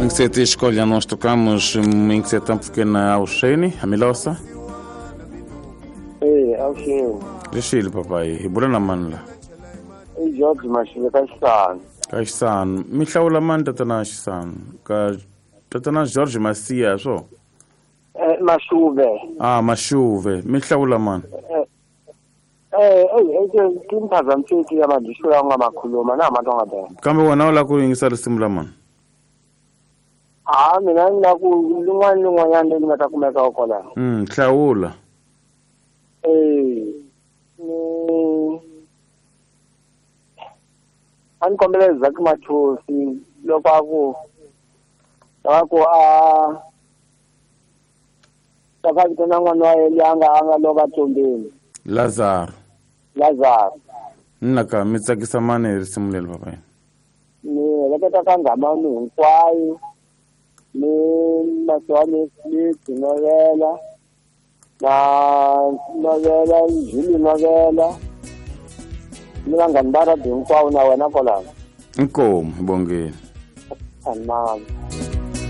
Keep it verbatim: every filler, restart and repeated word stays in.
Inkseti escolha nós tocamos inkseta pequena ao Shane, a Milosa. Eh, ao Shane. Rishile papai, ibula manla. Eh, George Mashile ka Kaxisano, mi hlawula mani tatana Xisano? Ka tatana George Masia swo? Eh, Mashuve. Ah, Mashuve. Mi hlawula mani? Eh, eh, eh, timphazamiseki ya madisho ya nga makhuluma na matonga bela. Kambe wena u lava ku yingisa risimu la mani? Ah, mina ni lava ku lin'wana ni lin'wanyana leri nga ta kumeka kona. Mm, hlawula. Eh, ni a ni kombela Zaki Mathosi loko a ku a ku a a vitana n'wana wa yena a nga a nga lova tombeni. Lazaro. Lazaro. Nna ka mi tsakisa mani hi risimu leri papai? Ni heleketa ka nghamani hinkwayo ni Masiwani Smith novela na novela Juli novela ni vanghani va radio hinkwavo na wena kwalano. Inkomu hi bongeni. Amen.